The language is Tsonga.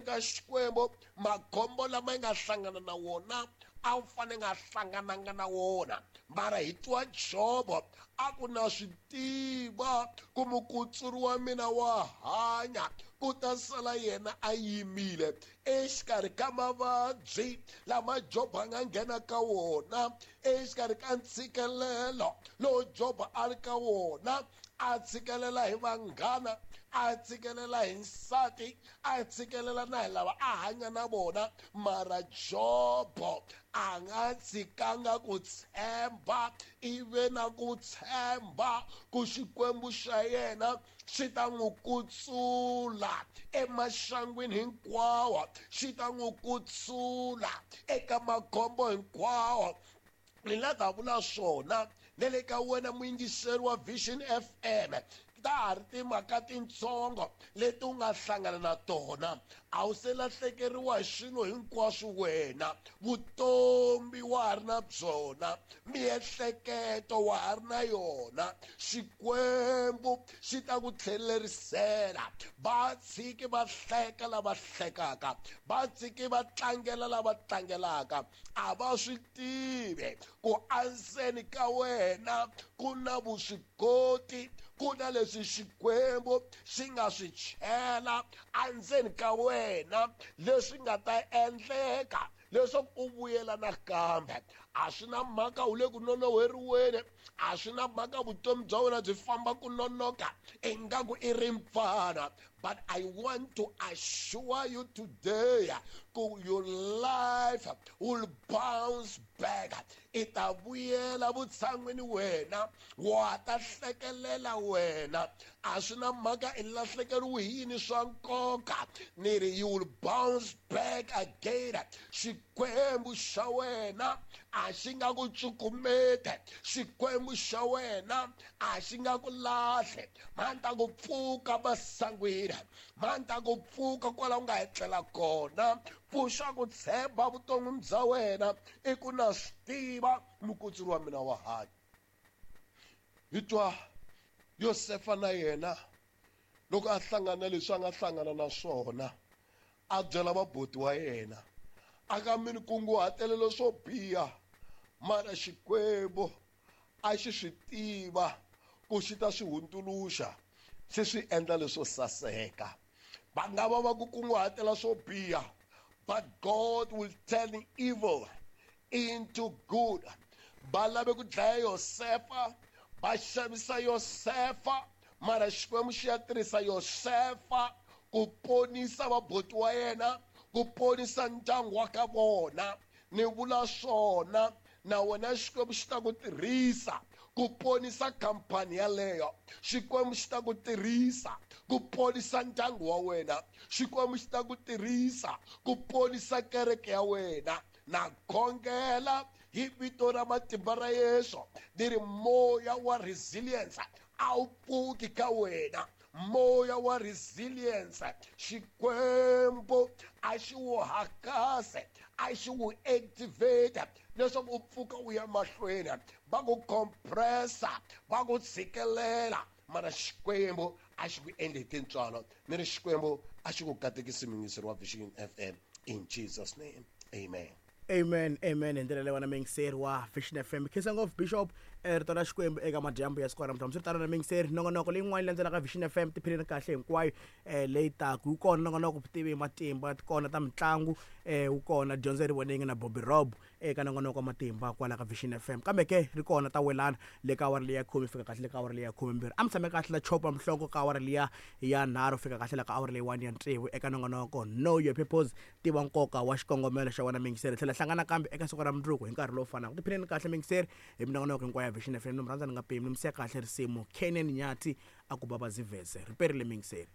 ka Xikwembu makhombo lama yi nga hlangana na wona a wu fane nga hlangananga na wona. Mara hi twa Jobo a ku na swi tiva ku mukutsuri wa mina wa hanya, ku ta sala yena a yimile exikarhi ka mavabyi lama Jobo a nga nghena ka wona, exikarhi ka ntshikelelo lowu Jobo a ri ka wona, a tshikelela hi vanghana, a tshikelela hi nsati, a tshikelela na hi lava a hanya na vona. Mara Jobo a nga tshikanga ku tshemba, ive na ku tshemba ku Xikwembu xa yena xi ta n'wi kutsula emaxangwini hinkwawo, xi ta n'wi kutsula eka makhombo hinkwawo. Ni la ta vula swona ne le ka wena muyingiseri wa Vision FM, ta ha ri timhaka tintsongo leti u nga hlangana na tona. A wu se lahlekeriwa hi swilo hinkwaswo wena, vutomi wa ha ri na byona, miehleketo wa ha ri na yona. Xikwembu xi ta ku tlhelerisela. Va tshiki va hleka lava hlekaka, va tshiki va tlangela lava tlangelaka. A va swi tivi ku andzeni ka wena ku na vuswikoti, ku na leswi Xikwembu xi nga swi chela andzeni ka wena leswi nga ta endleka leswaku u vuyela nakambe. A swi na mhaka u le ku nonoheriweni, a swi na mhaka vutomi bya wena byi famba ku nonoka ingaku i rimpfana, but I want to assure you today ku your life will bounce back. I ta vuyela vutshan'wini wena, wa ta hlekelela wena. A swi na mhaka i lahlekeriwe hi yini swa nkoka, ni ri you will bounce back again. Xikwembu xa wena a xi nga ku cukumeti, Xikwembu xa wena a xi nga ku lahle. Ma ta ku pfuka masangwini, ma ta ku pfuka kwala u nga etlela kona. Pfuxa ku tshemba vuton'wini bya wena, i ku na swi tiva mukutsuri wa mina wa hanya. Hi twa Yosefa na yena loko a hlangana leswi a nga hlangana na swona, a byela vaboti wa yena, a ka mi ni kunguhatelelo swo biha, mara Xikwembu a xi swi tiva ku xi ta swi hundzuluxa xi swi endla leswo saseka. Va nga va va ku kunguhatela swo biha, but God will turn evil into good. Va lave ku dlaya Yosefa, va xavisa Yosefa, mara Xikwembu xi ya tirhisa Yosefa ku ponisa vaboti wa yena, ku ponisa ndyangu wa ka vona. Ni vula swona na wena Xikwembu xi ta ku tirhisa ku ponisa khampani yaleyo. Xikwembu xi ta ku tirhisa ku ponisa ndyangu wa wena. Xikwembu xi ta ku tirhisa ku ponisa kereke ya wena. Na khongela hi vito ra matimba ra Yesu, ni ri moya wa resilience a wu pfuki ka wena. Moya wa resilience Xikwembu a xi wu hakase, a xi wu activate leswaku u pfuka u ya mahlweni. Va ku compressa, va ku tshikelela, mara Xikwembu a xi ku endli hi tintswalo. Ni ri Xikwembu a xi ku katekisi muyingiseri wa Vision FM, in Jesus name, amen. Amen, amen. Hi ndlela leyi wena muyingiseri wa Vision FM. Khensa ngopfu Bishop, rito ra Xikwembu eka madyambu ya siku ra namuntlha. Hambiswiritano na muyingiseri, nongonoko leyin'wana yi landzelaka Vision FM tiphineni kahle hinkwayo leyi taka. Wu kona nongonoko vutivi hi matimba, ti kona ta mitlangu, wu kona dyondzo ri vonenge na Bobby Rob eka nongonoko wa matimba kwala ka Vision FM. Kambe ke ri kona ta welana le ka awara leyi ya khume fika kahle le ka awara leyi ya khumembirhi. A mi tshame kahle la chopa mhlongo ka awara liya ya nharhu fika kahle la ka awara leyiwani ya tsevu eka nongonoko Know Your Purpose, tiva nkoka wa xikongomelo xa wena muyingiseri. Tlhela hlangana kambe eka siku ra mundzuku hi nkarhi lowu fanaka. Tiphineni kahle muyingiseri hi minongonoko hinkwayo ya Vision FM. Ni mi rhandza ni nga pimi, ni mi siya kahle risimu Kenan Nyathi a ku baba ziveze. Ri perile muyingiseri.